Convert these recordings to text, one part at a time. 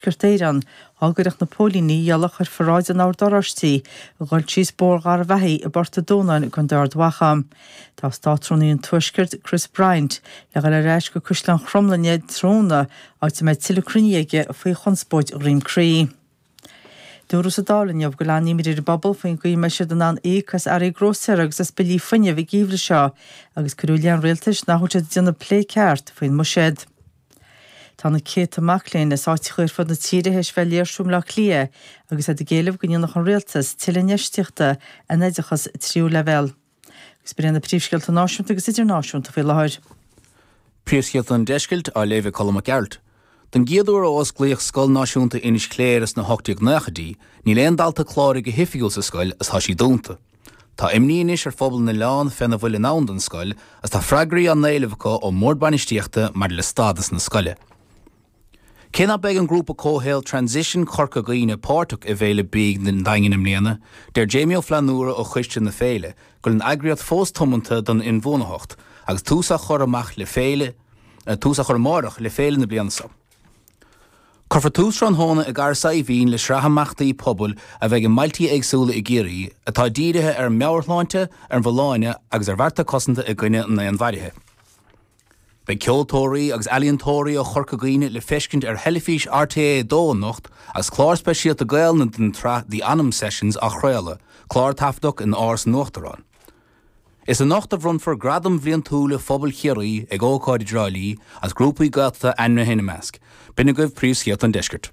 Tuaisceart Éireann, dhá gcuirfeadh na póilíní iallach ar pharáid an Oird Oráistigh a dhul síos Bóthar Gharbhachaidh i bPort a' Dúnáin i gContae Ard Mhacha. Tá Státrúnaí an Tuaiscirt, Chris Bryant, le dhul ar ais go Caisleán Chromghlinne tráthnóna, áit a mbeidh tuilleadh cruinnithe aige faoi chonspóid Dhroim Crí. Dúradh sa Dáil inniu go bhfuil an-imní ar an bpobal faoin gcaoi a mbeidh siad in ann íoc as earraí grósaera agus as billí fuinnimh an geimhreadh seo agus cuireadh i leith an rialtais nach bhfuil siad ag déanamh plé ceart faoin mbuiséad. Tá na céadta mac léinn as áiteacha ar fud na tíre théis bheith ag léirsiú i mBleá Cliath agus iad ag éileamh go ndéanfadh an rialtas tuilleadh infheistíochta in oideachas tríú leibhéal. Agus b'in iad na príomhscéalta náisiúnta agus idirnáisiúnta faoi láthair. Príomhscéalta an Deiscirt á léamh ag Colm Mac Gearailt. Don gcéad uair ó osclaíodh Scoil Náisiúnta Inis Cléire sna 1890idí, níl aon dalta cláraithe go hoifigiúil sa scoil agus tá sí dúnta. Tá imní anois ar phobal na n-oileán féna bhfuil i ndán don scoil agus tá freagraí á n-éileamh acu ón mbord bainistíochta maidir le stádas na scoile. Cé ná beidh an grúpa comhshaoil Transition Corca Dhuibhne páirteach i bhFéile Bídh an Daingin i mbliana, deir Jamie Ó Flannúra ó choiste na féile go bhfuil an eagraíocht fós tiomanta don inbhuanaitheacht agus tús á chur amach le féile tús á chur amáireach le féile na bliana seo. Cuirfear tús tráthnóna i gCarraig Saidhbhín le sraith imeachtaí pobail a bheidh i mbailtí éagsúla i gCiarraí atá dírithe ar an meabhairshláinte, ar an bhfolláine agus ar bhearta cosanta i gcoinne an fhéinmharaithe. Beidh ceoltóirí agus ealaíontóirí ó Chorca Dhuibhne le feiscint ar theilifís RTÉ 2 anocht agus clár speisialta Gaelainne den tsraith The Anam Sessions á chraoladh, clár a taifeadadh in Áras an Uachtaráin. Is anocht a bhronnfar Gradaim Bhliantúla Phobail Chiarraí ag ócáid i dTrá Lí agus grúpaí Gaeltachta ainmnithe ina measc. B'in agaibh príomhscéalta an deiscirt.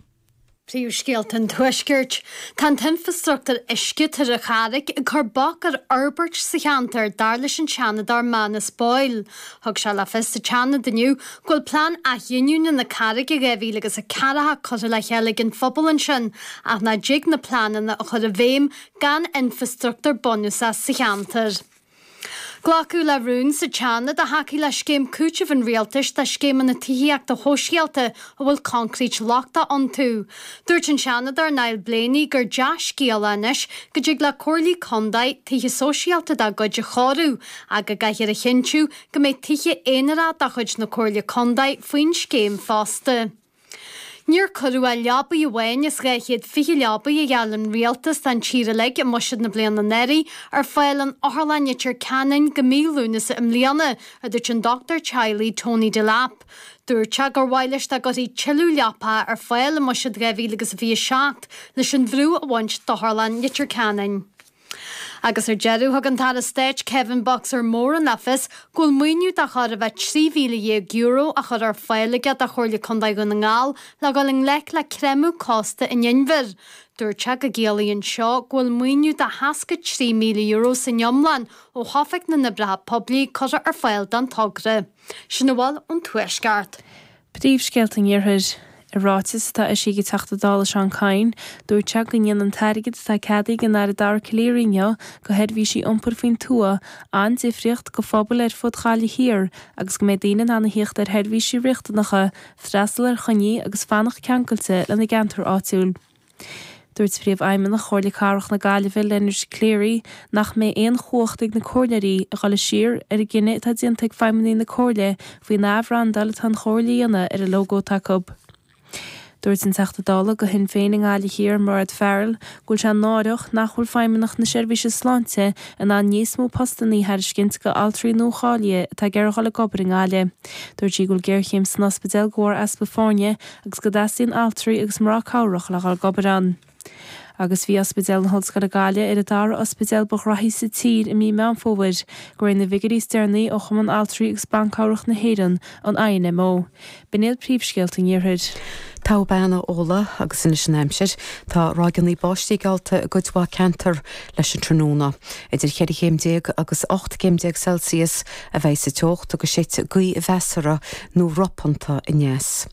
Príomhscéalta an Tuaiscirt. Tá an t-infreastruchtúr uisce tar an Charraic ag cur bac ar fhorbairt sa cheantar, dar leis an Seanadóir Manus Boyle. Thug sé le fios sa tSeanad inniu go bhfuil plean athghiniúna na Carraige 2000 agus 40 curtha le chéile ag an phobal ansin ach nach dtig na pleananna a chur i bhfeidhm gan infreastruchtúr bunúsach sa cheantar. Glacadh le rún sa tSeanad a thacaigh le scéim cúitimh an rialtais do scéimeanna tithíochta shóisialta a bhfuil concrete lochtach iontu. Dúirt an Seanadóir Niall Blaney gur dea-scéala anois go dtig le comhairlí contae tithe sóisialta dá gcuid a chóiriú ach go gcaithfear a chinntiú go mbeidh tithe aonarach de chuid na comhairle contae faoin scéim fosta. Níor cuireadh ach leabaidh amháin as 220 leabaidh a gheall an rialtas don tír uilig i mbuiséad na bliana anuraidh ar fáil in Otharlann Leitir Ceanainn go mí Lúnasa i mbliana, a dúirt an dochtúir teaghlaigh Tony Delap. Dúirt sé gur mhaith leis dá gcuirfí tuilleadh leapacha ar fáil i mbuiséad 2027 leis an bhrú a bhaint d'Otharlann Leitir Ceanainn. Agus ar deireadh, thug an tAire Stáit Kevin 'Boxer' Moran le fios go bhfuil maoiniú de chóir a bheith €13,000 á chur ar fáil aige do Chomhairle Contae Dhún na nGall le dhul i ngleic le creimeadh cósta an inbhir. Dúirt sé go gciallaíonn seo go bhfuil maoiniú de €63,000 san iomlán ó Oifig na nOibreacha Poiblí curtha ar fáil don togra. Sin a bhfuil ón Tuaisceart. Príomhscéalta an Iarthair. I ráiteas atá eisithe ag an Teachta Dála Seán Kyne, dúirt sé go ndéanann an t-airgead atá ceadaithe ag an Aire Dara Calleary inniu do sheirbhísí iompair faoin tuath an-difríocht do phobail ar fud Ghaillimh Thiar agus go mbeidh daoine in ann a thíocht ar sheirbhísí riachtanacha, freastal ar choinní agus fanacht ceangailte lena gceantar áitiúil. Dúirt Príomhfheidhmeannach Chomhairle Cathrach na Gaillimhe, Leonard Cleary, nach mbeidh aon chumhacht ag na comhairleoirí a dhul siar ar an gcinneadh atá déanta ag feidhmeannaigh na Comhairle faoin athbhrandáil atá an Chomhairle a dhéanamh ar an lógó atá acu. Dúirt an Teachta Dála do Shinn Féin i nGaillimh Thiar, Mairéad Farrell, go bhfuil sé náireach nach bhfuil Feidhmeannacht na Seirbhíse Sláinte in ann níos mó postanna a thairiscint do altraí nuacháilithe atá ag iarraidh dhul ag obair i nGaillimh. Dúirt sí go bhfuil géarchéim san ospidéal de bharr easpa foirne agus go dteastaíonn altraí agus mná cabhrach le dhul ag obair ann. Agus bhí Ospidéal na hOllscoile Gaillimh ar an dara ospidéal ba ghraithí sa tír i mí Meán Fómhair, de réir na bhfigiúirí is deireanaí ó Chumann Altraí agus Ban Cabhrach na hÉireann, an INMO. B'in iad príomhscéalta an Iarthair. Togha bean a Fhódhla agus anois an aimsir. Tá ráigeanna báistí geallta i gcuid mhaith ceantar leis an tráthnóna. Idir cheithre chéim déag agus 18 gcéim Celsius a bheidh sa teocht agus séidfidh gaoth mheasartha nó ropánta aneas.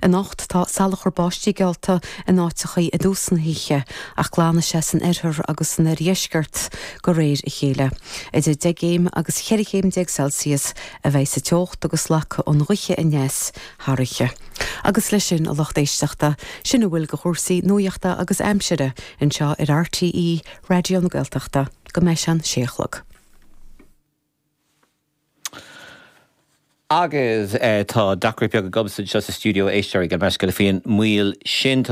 Anocht tá salachar báistí geallta in áiteachaí i dtús na hoíche ach glanfaidh sé san oirthear agus san oirdheisceart de réir a chéile. Idir 10 gcéim agus 14 chéim Celsius a bheidh sa teocht agus slagfaidh an ghaoth aneas thar oíche. Agus leis sin, a lucht éisteachta, sin a bhfuil de chúrsaí nuachta agus aimsire anseo ar RTÉ Raidió na Gaeltachta go mbeidh sé an sé a chlog. Agus tá deacracht beag agamsa anseo sa stiúideo, a éisteoirí, gabh mo leithscéal faoin moill sin.